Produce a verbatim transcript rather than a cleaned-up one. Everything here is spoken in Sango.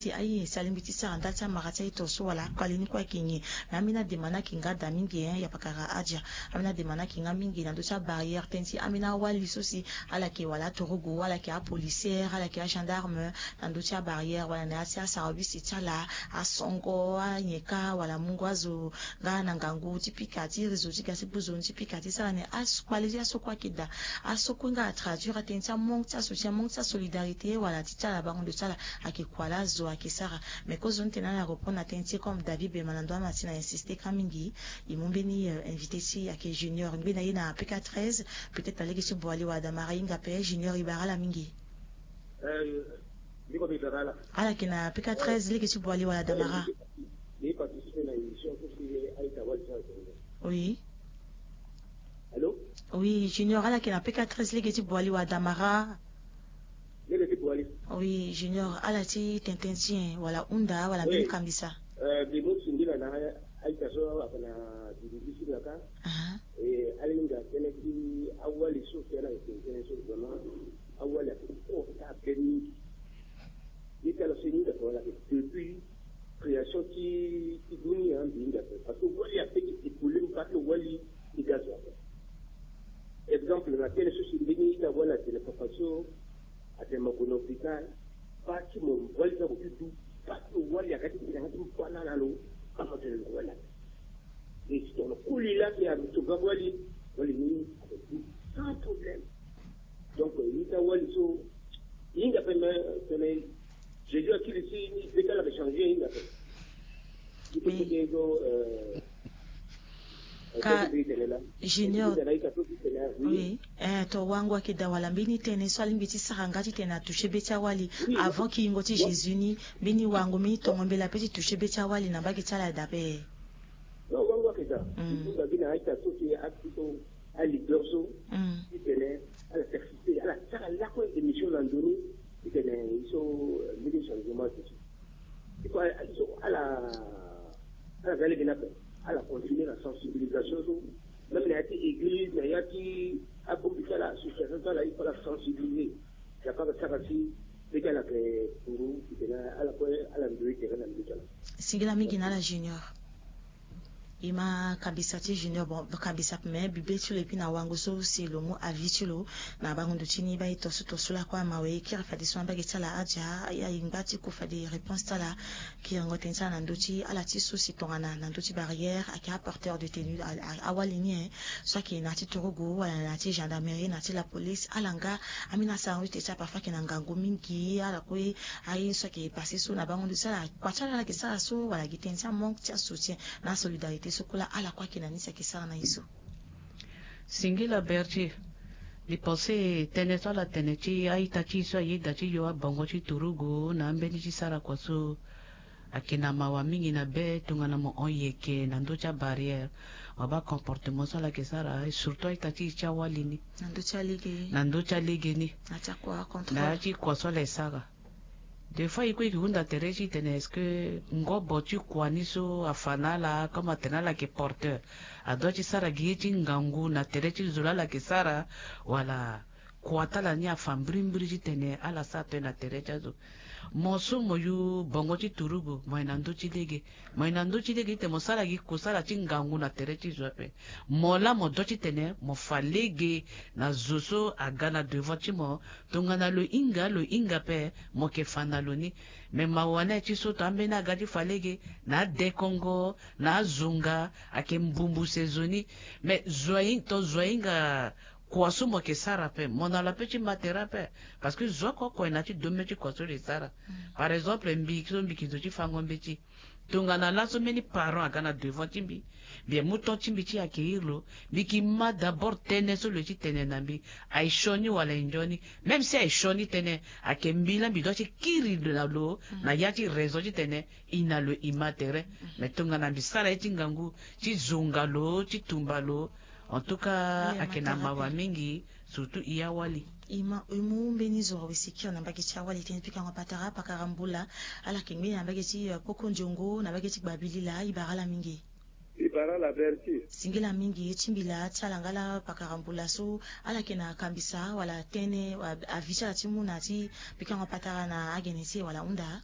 ti aye si alingbi ti sara nda ti amara ti aye to so wala akpali ni kue ayeke nyen. Me ambeni adema ni ayeke nga daa mingi, eh, ya pakara Adja. Ambeni adema ni ayeke nga mingi na ndö ti abarrière tënë ti ambeni awali so si ala yeke wala aturugu, ala yeke apolicière, ala yeke agendarme na ndö ti abarrière wala na ya ti asarabisi ti ala, asongo, anyeka wala mungo azo nga na ngangu ti pika ti réseau ti ga ti buzo ni ti pika ti sara ni. Akpali ti aso kue ayeke daa. Aso kue nga atraduire atënë ti amanque ti asoutien, amanque ti asolidarité wala ti ti ala bango ndo ti ala ayeke kua laa azo ayeke sara. Mais kozoni tene ala reprendre na tënë ti e comme David Bema na ndo ama ti na insiste ka mingi. E mu mbeni, euh, invité ti e ayeke Junior, ngbeni na ye na P K treize, peut-être na lege ti Boali wala Damara e hinga ape. Junior, e bara ala mingi. Euh, ndeko, mbi bara ala. Ala yeke na P K treize, lege ti Boali wala Damara. Mbi participer na émission so si Aïta Wali ti ala. Oui. Allô? Oui, Junior, ala yeke na P K treize, lege ti Boali wala Damara. Lege ti Boali. Oui, Junior, ala ti tene ti nyen wala hunda wala mbeni kambisa? Euh, mbi mu singila na Aïta so ayeke na Dibidi ti ala ka. Aha. E, ala hinga tënë ti awali so si ala yeke tene so vraiment awali ayeke fort, abe mingi. Ye ti ala so e hinga ape wala ayeke depuis création ti, ti dunia mbi hinga ape. Parce que wali ape ti épaulé mbi, parce que wali ti ga zo ape. Exemple, na tënë so si mbeni ita wali atene papa so atene mo gue na hôpital, baa ti mo wali ti ako ti du, baa ti lo wali aga ti tene yanga ti mbi kue na ala lo, baa mo tene lo wali ape. E si tongana koli laa si ato ga wali, wali ni ato du sans problème. Donc, euh, ita wali so, e hinga ape, mais, mais Jésus akiri si ni be ti ala ayeke changé, e hinga ape. Ni peut ti ke so, euh, Ka Junior. Oui. Eh, to wango ayeke daa wala mbeni tënë so alingbi ti sara nga titene atouché be ti awali. Oui. Avant kiyingo ti Jésus ni, mbeni wango, mbeni tongo mbela ape ti touché be ti awali na mbage ti ala daa ape. Non, wango ayeke daa. Mm. Il faut na gi na a-ita so si a-, so a-leader so, mm, titene ala persister, ala sara lakue émission na ndo ni, titene e so, eh, mbeni changement ti so. Il faut, il faut ala, ala ga lege ni ape, ala continuer na sensibilisation so, même na ya ti église, na ya ti abongbi ti ala, association ti ala, il faut ala sensibiliser. Yaka ala sara si be ti ala ayeke puru, titene ala kue ala ndoye tere na ndö ti ala. Singila mingi na ala Junior. E ma kambisa ti Junior, bon, kambisa ape, me mbi be ti lo, et puis na wango so si lo mu avis ti lo na bango ndo ti ni, baa e to so to so lakue amawe, e kiri fadeso na mbage ti ala Adja, e, e ngba ti ku fade réponse ti ala, kiringo tënë ti ala na ndö ti ala ti so si tongana na ndö ti barrière ayeke aporteur de tenue, a, a, awali ni, eh, so ayeke na ya ti turugu wala na ya ti gendarmerie, na ya ti la police, ala nga ambeni asara ti tene ti ala parfois ayeke na ngangu mingi, ala kue aye so ayeke passé so na bango ndo ti ala, kua ti ala ala yeke sara so wala gi tënë ti amanque ti asoutien na asolidarité so kue laa ala kue ayeke na ni si ayeke sara na ye so. Singila Berger, mbi pense tënë so ala tene ti a-ita ti e so ayeda ti yo abongo ti turugu na ambeni ti sara kua so ayeke na mawa mingi na be tongana mo hon yeke na ndö ti abarrière. Mo baa comportement so ala yeke sara, et surtout a-ita ti e ti awali ni. Na ndö ti alege. Na ndö ti alege ni. Na ya ti kua, contrôle. Na ya ti kua so ala yeke sara. Des fois e kue e yeke hunda tere ti e tene est-ce que ngobo ti kua ni so afa na ala, comme atene ala yeke porteur, adoit ti sara gi ye ti ngangu na tere ti zo laa ala yeke sara, wala kua ti ala ni afa mbirimbiri titene ala sara tënë na tere ti azo. Mo so mo yu bongo ti turugu, mo yeke na ndö ti lege. Mo yeke na ndö ti lege titene mo sara gi kusala ti ngangu na tere ti zo ape. Mo laa mo doit titene mo fa lege na zo so aga na devant ti mo. Tongana lo hinga, lo hinga ape, mo yeke fa na lo ni. Me mawa ni aye ti so tongana ambeni aga ti fa lege na adekongo, na azunga, ayeke mbumbuse zo ni. Me zo ahin-, to zo ahinga kua so mo yeke sara ape, mo na lo ape ti ma tere ape. Parce que zo oko oko ayeke na ya ti domaine ti kua so lo yeke sara. Mm. Par exemple, mbi so mbi yeke zo ti fango mbeti. Tongana laso mbeni parent aga na devant ti mbi, mbi yeke mu temps ti mbi ti accueillir lo, mbi yeke ma d'abord tënë so lo yeke ti tene na mbi. Aye sioni wala aye nzoni. Même si aye sioni tënë, ayeke mbi laa mbi doit ti kiri na lo, mm, na ya ti raison titene e na lo e ma tere. Mm. Mais tongana mbi sara ye ti ngangu, ti zonga lo, ti tumba lo, en tout cas, ayeke na mawa mingi, surtout e awali. E ma, e mu mbeni zo awe si e kiri na mbage ti awali tënë ti pikango patara, pakara mbula, ala yeke ngbeni na mbage ti, euh, poko nzongo, na mbage ti gbabilila, e bara ala mingi. E bara ala Berger. Singila mingi, ti mbila ti ala nga laa pakara mbula so, ala yeke na kambisa wala tënë, a-, avis ti ala ti mu na ya ti pikango patara na agene ti e wala hunda?